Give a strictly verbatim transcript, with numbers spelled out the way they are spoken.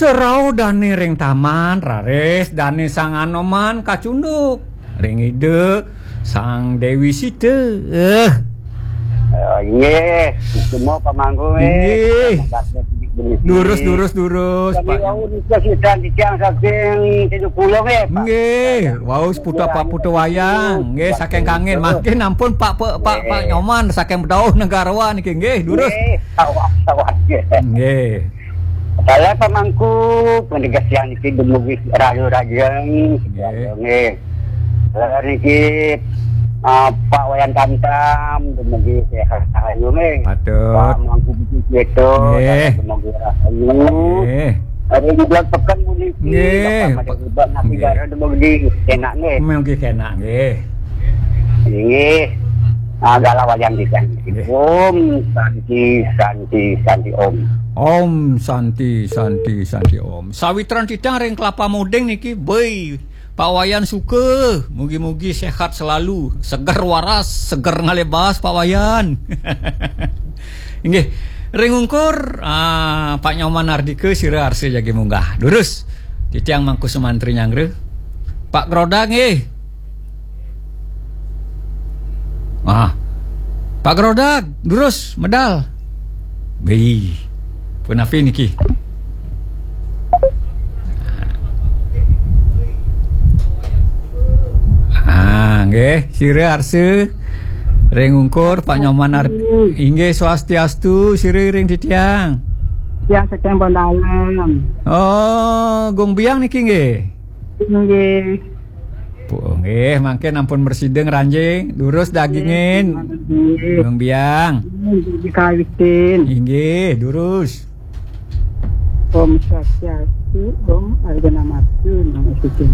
Serauh dane ring taman, raris dane Sang Anoman kacunduk ring Ida Sang Dewi Sita. Eh. Oh, inggih, semua pamangku, eh. Inggih. Durus, durus, durus, Pak. Kami wau nika sidan titiang saking Siduk Pulo, eh, Pak. Inggih, wau seputar Pak Putu Wayang. Nggih, saking Kangin. Mangkin ampun Pak, Pak, Pak, Pak Nyoman saking Bedauh Negarawan niki, nggih, durus. Nggih, sawat, sawat, nggih. Nggih. Saya pamangku, penegas yang niki dumugi rayu rajeng, nggih. Nggih. Lah niki, ah, Pak Wayan Tamtam, dumugi sehat rahayu, nggih. Patut. Pamangku Budi Seto, nggih. Dumugi rahayu. Nggih. Hari ini bulan pekan puniki, nggih. Bapak Made Iban, nanti nggih. Gara dumugi enak, nggih. Dumugi enak, nggih. Inggih. Ah, gala wayang di sana. Nggih. Om Santi, Santi, Santi, Om. Om Santi, Santi, Santi, Om. Sawitran titiang ring Kelapa Muding niki, beuh. Pak Wayan Suka, mugi-mugi sehat selalu, seger waras, seger ngalih baas, Pak Wayan. Inggih, ring ungkur, ah, Pak Nyoman Ardika, sira arsa jagi munggah. Durus, titiang Mangku Sumantri nyanggra. Pak Grodag nggih. Ah, Pak Grodag, durus, medal. Beuh, punapi niki? Ah, nggih, sira arsa ring ungkur Pak Nyoman Ar-, inggih swastiastu, sira ring titiang. Tiang saking Bondalam. Oh, Gung Biang niki nggih. Nggih. Pu-, nggih, mangkin ampun mresida ngranjing, durus dagingin. Nggih. Gung Biang. Nggih, dikawitin. Inggih, durus. Om Swastiastu, Om Arjuna Matu, nama suci.